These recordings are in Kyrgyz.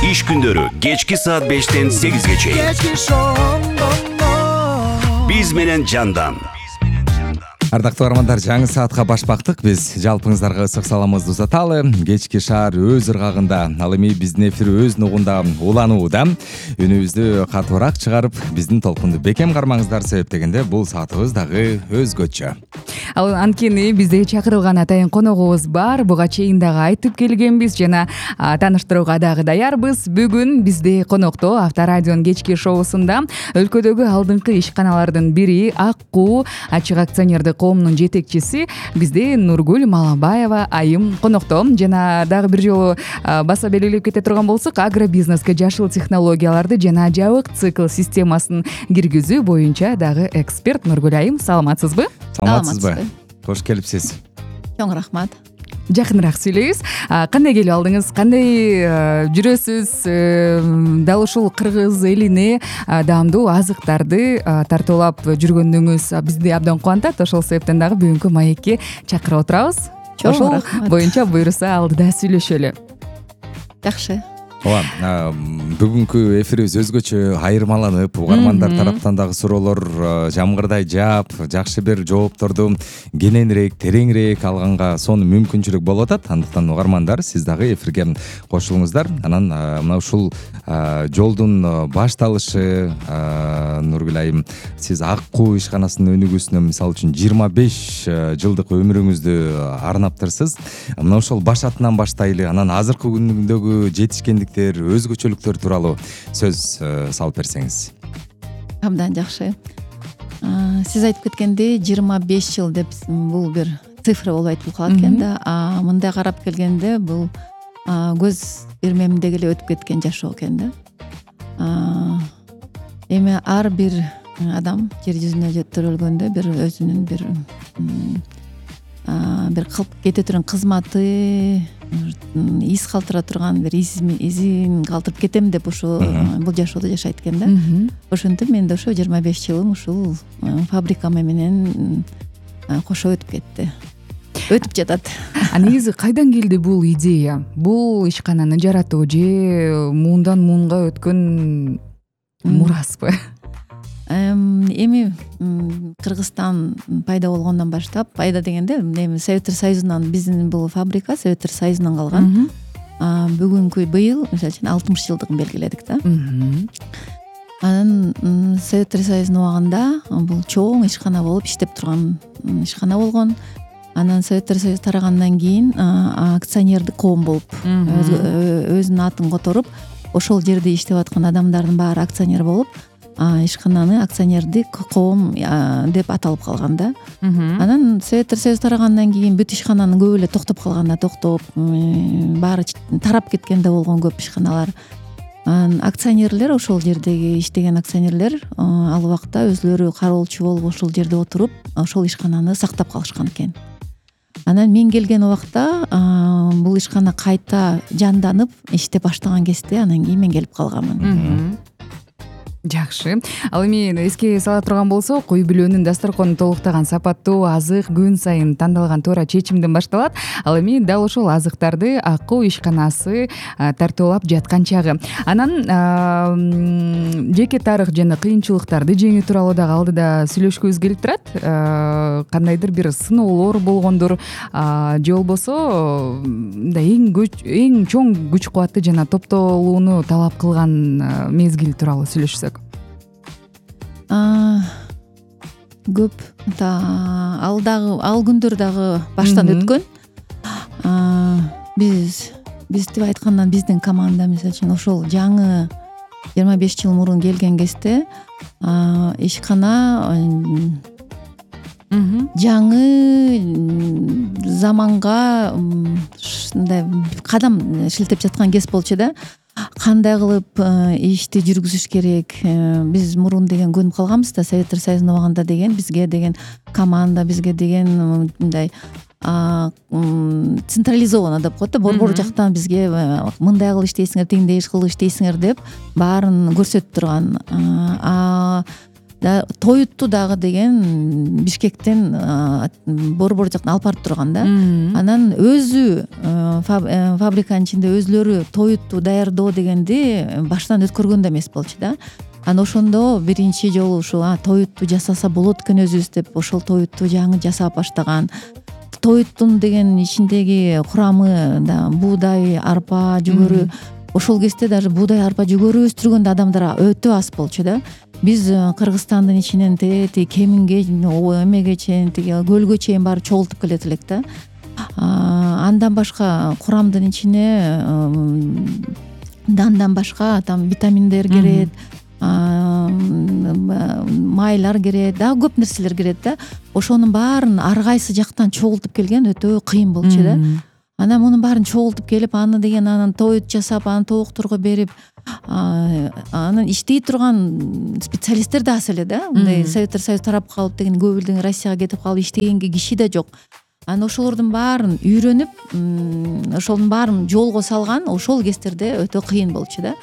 Иш күндөрү кечки саат 5-тен 8-ге чейин. Биз менен жандан. Ардактуу армандар, жаңы саатка баш бактык. Биз жалпыңыздарга ысык саламыбызды узаталы. Кечки шаар өз ыргагында, ал эми биздин эфир өз нугунда уланууда. Үнүбүздү катуураак чыгарып, биздин толкунду бекем кармаңыздар, себеп дегенде бул саатыбыз дагы өзгөчө. Ал анткени бизде чакырылган атайын коногубуз бар. Буга чейин дагы айтып келгенбиз жана тааныштырууга дагы даярбыз. Бүгүн бизде конокто Авторадионун кечки шоусунда өлкөдөгү алдыңкы ишканалардын бири Аккуу ачык акционердик коомунун жетекчиси бизде Нургүл Малабаева айым конокто. Жана дагы бир жолу баса белгилеп кете турган болсок, агробизнеске жашыл технологияларды жана жабык цикл системасын киргизүү боюнча дагы эксперт Нургүл айым. Саламатсызбы? Саламатсызбы? Кош келипсиз. Чоң рахмат. Жакыныраак сүйлөйбүз. Кандай келип алдыңыз? Кандай жүрөсүз? Дал ушул кыргыз элине даамдуу азыктарды тартуулап жүргөнүңүз бизди абдан кубантат. Ошол себептен дагы бүгүнкү маекке чакырып отурабыз. Ошол боюнча буюрса алдыда сүйлөшөлү. Жакшы. Ооба, бүгүнкү эфирибиз өзгөчө айырмаланып, угармандар тараптан дагы суроолор жамгырдай жаап, жакшы бир жоопторду кененирээк, тереңирээк алганга сонун мүмкүнчүлүк болуп атат. Андыктан угармандар, сиз дагы эфирге кошулуңуздар. Анан мына ушул жолдун башталышы, Нургүл айым, сиз Аккуу ишканасынын өнүгүүсүнө мисалы үчүн 25 жылдык өмүрүңүздү арнаптырсыз. Мына ошол башатынан баштайлы, анан азыркы күндөгү жетишкендик, өзгөчөлүктөр тууралуу сөз салып берсеңиз. Абдан жакшы. Сиз айтып кеткендей 25 жыл деп бул бир цифра болуп айтылып калат экен да. Мындай карап келгенде бул көз ирмемдеги эле өтүп кеткен жашоо экен да. Эми ар бир адам жер жүзүнө төрөлгөндө бир өзүнүн бир кылып кете турган кызматы, из калтыра турган бир изин калтырып кетем деп ушу бул жашоодо жашайт экен да. Ошентип мен да ошо 25 жылым ушул фабрикама менен кошо өтүп кетти. Өтүп жатат. Негизи кайдан келди бул идея? Бул ишкананы жаратуу же муундан муунга өткөн мураспы? Эми Кыргызстан пайда болгондон баштап, пайда дегенде эми Советтер Союзунан, биздин бул фабрика Советтер Союзунан калган. Бүгүнкү быйыл мисалы үчүн 60 жылдыгын белгиледик да. Анан Советтер Союзунун убагында бул чоң ишкана болуп иштеп турган ишкана болгон. Анан Советтер Союзу тарагандан кийин акционердик коом болуп өзүнүн атын которуп, ошол жерде иштеп аткан адамдардын баары акционер болуп, ишкананы акционердик коом деп аталып калган да. Анан Советтер Союзу тарагандан кийин бүт ишкананын көбү эле токтоп калганда баары тарап кеткен да болгон көп ишканалар. Акционерлер, ошол жердеги иштеген акционерлер ал убакта өзлөрү кароолчу болуп ошол жерде отуруп, ошол ишкананы сактап калышкан экен. Анан мен келген убакта бул ишкана кайта жанданып иштеп баштаган кезде анан кийин мен келип калганмын. Жакшы. Ал эми эске сала турган болсок, үй бүлөнүн дасторконун толуктаган сапаттуу азык күн сайын тандалган туура чечимден башталат. Ал эми дал ошол азыктарды Аккуу ишканасы тартуулап жаткан чагы. Анан жеке тарых жана кыйынчылыктарды жеңүү тууралуу дагы алдыда сүйлөшкүбүз келип турат. Кандайдыр бир сыноолор болгондур, же болбосо эң чоң күч кубатты жана топтолууну талап кылган мезгил тууралуу сүйлөшсөк. Көп ал күндөр дагы баштан өткөн. Биз деп айткандан биздин команда мисалы үчүн ошол жаңы 25 жыл мурун келген кезде ишкана жаңы заманга ушундай кадам шилтеп жаткан кез болчу да. Кандай кылып ишти жүргүзүш керек? Биз мурун деген көнүп калганбыз да, Советтер Союзунун убагында деген бизге деген команда, бизге деген мындай централизовано деп коет да, борбор жактан бизге мындай кылып иштейсиңер, тигиндей кылып иштейсиңер деп баарын көрсөтүп турган. тоютту дагы деген Бишкектен борбор жактан алып барып турган да. Анан өзү фабриканын ичинде өзүлөрү тоютту даярдоо дегенди баштан өткөргөн да эмес болчу да. Анан ошондо биринчи жолу ушул тоютту жасаса болот экен өзүбүз деп ошол тоютту жаңы жасап баштаган. Тоюттун деген ичиндеги курамы да буудай, арпа, жүгөрү. Ошол кезде даже буудай, арпа, жүгөрү өстүргөн да адамдар өтө аз болчу да. Биз Кыргызстандын ичинен тиги Кеминге, эмеге чейин, тиги көлгө чейин барып чогултуп келет элек да. Андан башка курамдын ичине дандан башка там витаминдер кирет, майлар кирет, дагы көп нерселер кирет да. Ошонун баарын ар кайсы жактан чогултуп келген өтө кыйын болчу да. Анан мунун баарын чогултуп келип, аны деген анан тоют жасап, аны тоокторго берип, анан иштей турган специалисттер да аз эле да. Мындай Советтер Союзу тарап калып деген көп элден Россияга кетип калып иштегенге киши да жок. Анан ошолордун баарын үйрөнүп, ошонун баарын жолго салган ошол кездерде өтө кыйын болчу да.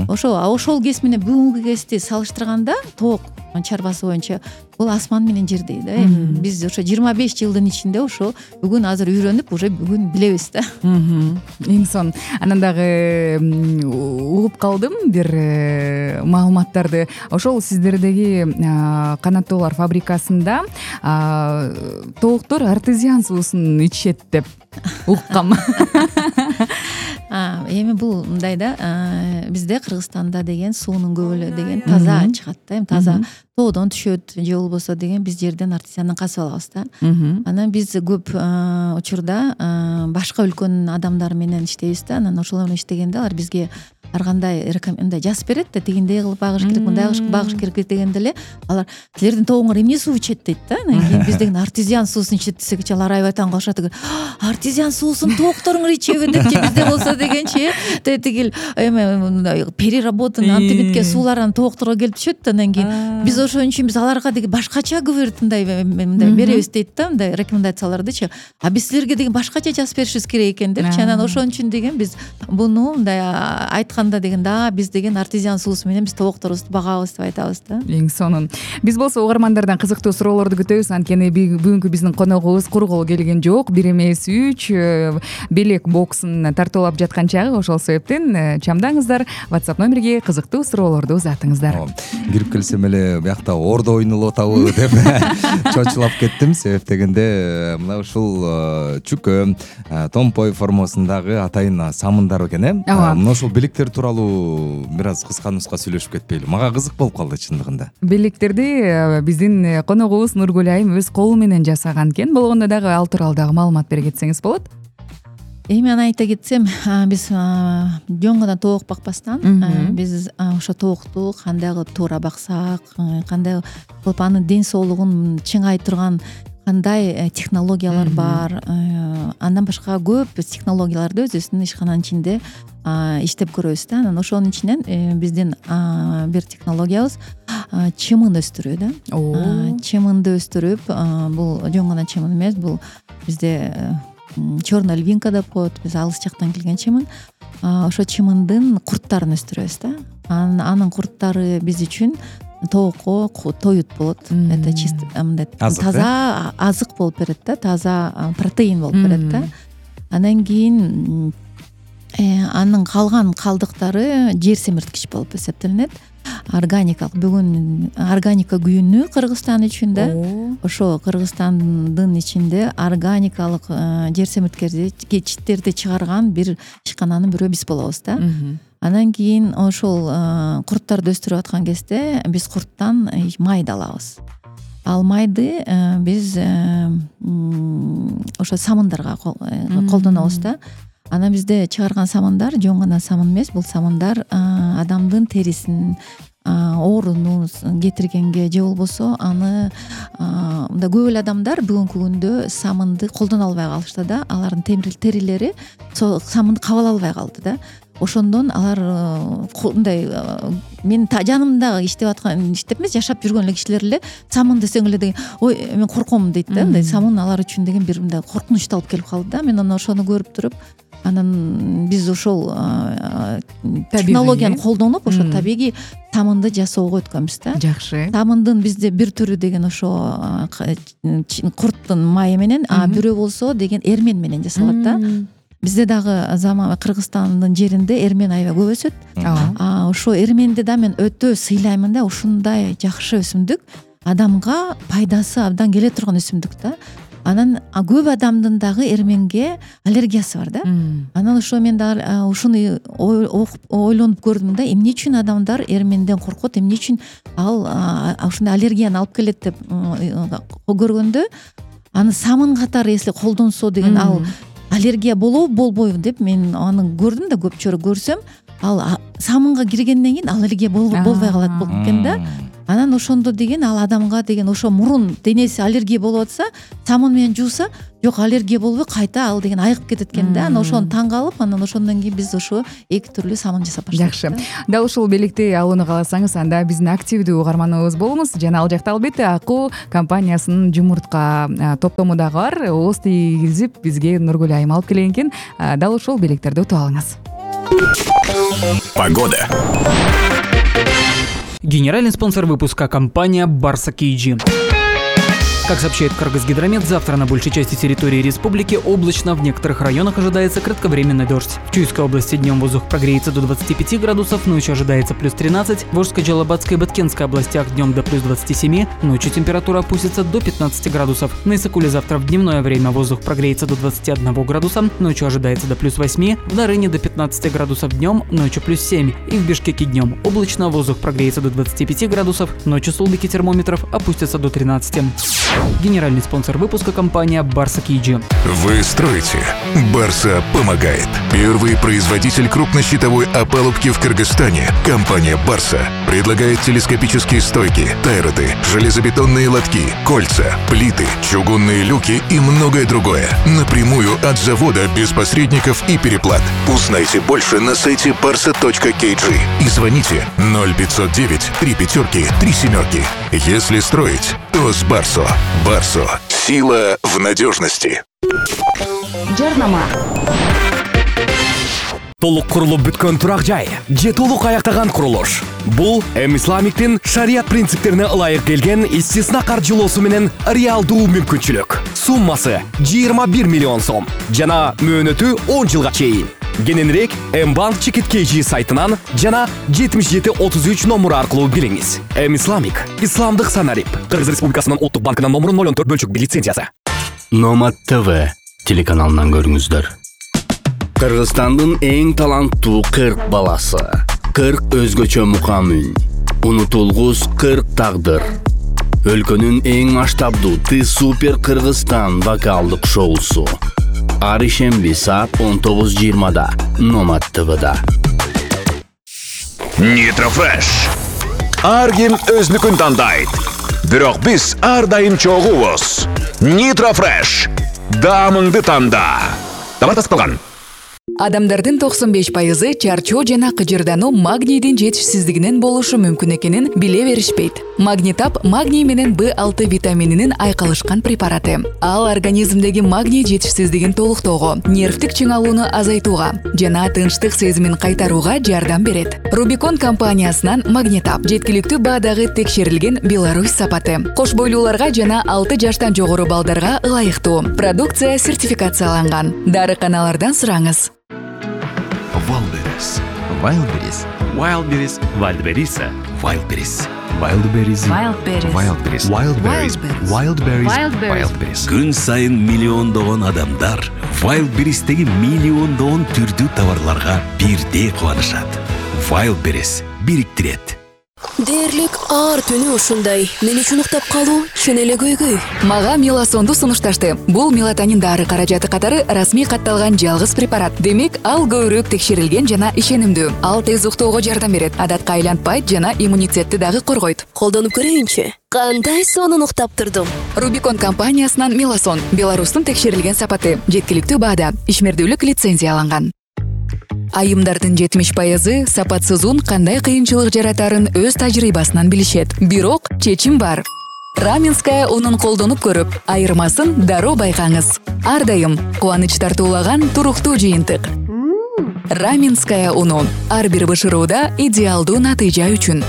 Ошол кез менен бүгүнкү кезди салыштырганда тоок чарбасы боюнча бул асман менен жердей да. Эми биз ошо 25 жылдын ичинде ошо бүгүн азыр үйрөнүп, уже бүгүн билебиз да. Эң сонун. Анан дагы угуп калдым бир маалыматтарды. Ошол сиздердеги канаттоолор фабрикасында тооктор артезиан суусун ичишет деп уккам. Эми бул мындай да, бизде Кыргызстанда деген суунун көбөлү деген таза чыгат да. Эми таза тоодон түшөт же болбосо деген биз жерден артезиандан казып алабыз да. Анан биз көп учурда башка өлкөнүн адамдары менен иштейбиз да. Анан ошолор менен иштегенде алар бизге ар кандай мындай жазып берет да, тигиндей кылып багыш керек, мындай багыш керек дегенде эле алар силердин тоогуңар эмне суу ичет дейт да. Анан кийин биз деген артезиан суусун ичет десек, алар аябай таң калышат экен. Артезиан суусун тоокторуңар ичеби депчи, бизде болсо дегенчи тигил эме переработанный антибитке суулар тоокторго келип түшөт да. Анан кийин биз ошон үчүн биз аларга деген башкача говорит мындай беребиз дейт да, мындай рекомендациялардычы. Биз силерге деген башкача жазып беришибиз керек экен депчи. Анан ошон үчүн деген биз буну мындай айтканда деген да, биз деген артезиан суусу менен биз тоокторубузду багабыз деп айтабыз да. Эң сонун. Биз болсо угармандардан кызыктуу суроолорду күтөбүз. Анткени бүгүнкү биздин коногубуз кургол келген жок. Бир эмес 3 белек боксун тартуулап жаткан чагы. Ошол себептен чамдаңыздар, WhatsApp номерге кызыктуу суроолорду узатыңыздар. Кирип келсем эле биякта ордо ойнулуп атабы деп чочулап кеттим. Себеп дегенде мына ушул чүкө, томпой формасындагы атайын самындар экен, мына ошол белектер тууралуу бир аз кыска нуска сүйлөшүп кетпейли? Мага кызык болуп калды чындыгында. Белектерди биздин коногубуз Нургүл айым өз колу менен жасаган экен. Болгондо дагы ал тууралуу дагы маалымат бере кетсеңиз болот. Эми аны айта кетсем, биз жөн гана тоок бакпастан, биз ошо тоокту кандай кылып туура баксак, кандай кылып анын ден соолугун чыңай турган кандай технологиялар бар. Андан башка көп технологияларды өзүбүздүн ишкананын ичинде иштеп көрөбүз да. Анан ошонун ичинен биздин бир технологиябыз чымын өстүрүү да. Чымынды өстүрүп, бул жөн гана чымын эмес, бул бизде черная львинка деп коет, биз алыс жактан келген чымын. Ошо чымындын курттарын өстүрөбүз да. Анын курттары биз үчүн тоокко тоют болот. Это чисто мындай таза азык болуп берет да, таза протеин болуп берет да. Анан кийин анын калган калдыктары жер семирткич болуп эсептелинет. Органикалык, бүгүн органика күнү Кыргызстан үчүн да. Ошо Кыргызстандын ичинде органикалык жер семирткичтерди чыгарган бир ишкананын бирөө биз болобуз да. Анан кийин ошол курттарды өстүрүп аткан кезде биз курттан майды алабыз. Ал майды биз ошо самындарга колдонобуз да. Анан бизде чыгарган самындар жөн гана самын эмес, бул самындар адамдын терисин оорунун кетиргенге же болбосо аны мындай көп эле адамдар бүгүнкү күндө самынды колдоно албай калышты да. Алардын терилери самынды кабыл албай калды да. Ошондон алар мындай мен жанымда иштеп эмес, жашап жүргөн эле кишилер эле самын десең эле деген ой мен корком дейт да. Мындай самын алар үчүн деген бир мындай коркунучтуу алып келип калды да. Мен анан ошону көрүп туруп, анан биз ошол технологияны колдонуп, ошо табигый самынды жасоого өткөнбүз да. Жакшы. Самындын бизде бир түрү деген ошо курттун майы менен, а бирөө болсо деген эрмен менен жасалат да. Бизде дагы Кыргызстандын жеринде эрмен аябай көп өсөт. Ошо эрменди да мен өтө сыйлаймын да. Ушундай жакшы өсүмдүк адамга пайдасы абдан келе турган өсүмдүк да. Анан көп адамдын дагы эрменге аллергиясы бар да. Анан ошо мен дагы ушуну ойлонуп көрдүм да, эмне үчүн адамдар эрменден коркот, эмне үчүн ал ушундай аллергияны алып келет деп көргөндө, аны самын катары если колдонсо деген ал аллергия болобу болбойбу деп мен аны көрдүм да, көп жолу көрсөм ал самынга киргенден кийин аллергия болбой калат болуп экен да. Анан ошондо деген ал адамга деген ошо мурун денеси аллергия болуп атса, самын менен жууса, жок аллергия болбой кайта ал деген айыгып кетет экен да. Анан ошону таң калып, анан ошондон кийин биз ошо эки түрлүү самын жасап баштадык. Жакшы. Дал ушул белекти алууну кааласаңыз, анда биздин активдүү угарманыбыз болуңуз. Жана ал жакта албетте Акуу компаниясынын жумуртка топтому дагы бар. Ооз тийгизип бизге Нургүл айым алып келген экен. Дал ушул белектерди утуп алыңыз. Погода. Генеральный спонсор выпуска — компания Барса KG. Как сообщает Кыргызгидромет, завтра на большей части территории республики облачно, в некоторых районах ожидается кратковременный дождь. В Чуйской области днем воздух прогреется до 25 градусов, ночью ожидается плюс 13, в Орской, Джалабатской и Баткенской областях днем до плюс 27, ночью температура опустится до 15 градусов. На Исыкуле завтра в дневное время воздух прогреется до 21 градуса, ночью ожидается до плюс 8, в Нарыне до 15 градусов днем, ночью плюс 7, и в Бишкеке днем облачно, воздух прогреется до 25 градусов, ночью столбики термометров опустятся до 13. Генеральный спонсор выпуска — компания Барса KG. Вы строите, Барса помогает. Первый производитель крупнощитовой опалубки в Кыргызстане, компания Барса, предлагает телескопические стойки, тайроты, железобетонные лотки, кольца, плиты, чугунные люки и многое другое. Напрямую от завода, без посредников и переплат. Узнайте больше на сайте barsa.kg и звоните 0509 3 5 3 7. Если строить, то с Барсо. Барсо. Сила в надежности. Жарнама. Толук курулуп бүткөн турак жай же толук аяктаган курулуш. Бул Исламиктин шарият принциптерине ылайык келген истисна каржылоосу менен реалдуу мүмкүнчүлүк. Суммасы 21 миллион сом жана мөөнөтү 10 жылга чейин. Кененирээк Mbank Чекит KG сайтынан жана 7733 номуру аркылуу билиңиз. Исламик — исламдык санарип. Кыргыз Республикасынын Улуттук банкынын номуру 014/1 лицензиясы. Номад ТВ телеканалынан көрүңүздөр. Кыргызстандын эң таланттуу 40 баласы, 40 өзгөчө мукамын, унутулгус 40 тагдыр. Өлкөнүн эң масштабдуу Ты Супер Кыргызстан вокалдык шоусу. Ар ишемби саат 19:20 Номад ТВда. Нитрофреш. Ар ким өзүнүкүн тандайт. Бирок биз ар дайым чогуубуз. Нитрофреш. Даамыңды танда. Товар тасталган. Адамдардын 95% чарчоо жана кыжырдануу магнийдин жетишсиздигинен болушу мүмкүн экенин биле беришпейт. Магнитап магний менен B6 витамининин айкалышкан препараты. Ал организмдеги магний жетишсиздигин толуктоого, нервтик чыңалууну азайтууга жана тынчтык сезимин кайтарууга жардам берет. Рубикон компаниясынан Магнитап жеткиликтүү баадагы текшерилген Беларусь сапаты. Кош бойлууларга жана 6 жаштан жогору балдарга ылайыктуу. Продукция сертификацияланган. Дарыканалардан сураңыз. Wildberries. Wildberries. Wildberries. Wildberries. Wildberries. Wildberries. Wildberries. Wildberries. Wildberries. Wildberries. Күн сайын миллиондогон адамдар Wildberries'теги миллиондогон түрдүү товарларга бирдей кубанышат. Wildberries бириктирет. Дээрлик ар түнү ушундай. Мен үчүн уктап калуу чын эле көйгөй. Мага меласонду сунушташты. Бул мелатонин дары каражаты катары расмий катталган жалгыз препарат. Демек, ал көбүрөөк текшерилген жана ишенимдүү. Ал тез уктоого жардам берет, адатка айлантпайт жана иммунитетти дагы коргойт. Колдонуп көрөйүнчү. Кандай сонун уктап турдум. Рубикон компаниясынан Меласон, Беларустун текшерилген сапаты, жеткиликтүү баада, ишмердүүлүк лицензияланган. Айымдардын 70% сапатсыз ун кандай кыйынчылык жаратарын өз тажрыйбасынан билишет. Бирок чечим бар. Раменская унун колдонуп көрүп, айырмасын дароо байкаңыз. Ар дайым кубаныч тартуулаган туруктуу жыйынтык. Раменская уну ар бир бышырууда идеалдуу натыйжа үчүн.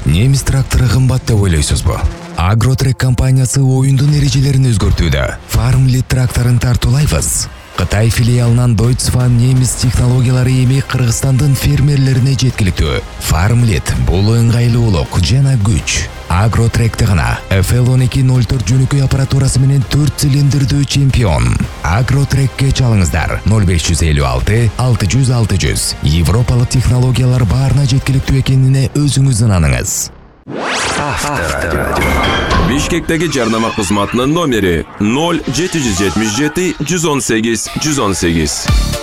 Немис трактору кымбат деп ойлойсузбу? Агротрек компаниясы оюндун эрежелерин өзгөртүүдө. Farmlit тракторун тартуулайбыз. Кытай филиалынан Deutsche немис технологиялары эми Кыргызстандын фермерлерине жеткиликтүү. Farmlit бул ыңгайлуулук жана күч. Агротректе гана FL1204 жөнөкөй аппаратурасы менен 4 цилиндрдүү чемпион. Агротрекке чалыңыздар 0556 600 600. Европалык технологиялар баарына жеткиликтүү экенине өзүңүз ынаныңыз. Авторадио. Бишкектеги жарнама кызматынын номери 0777 118 118.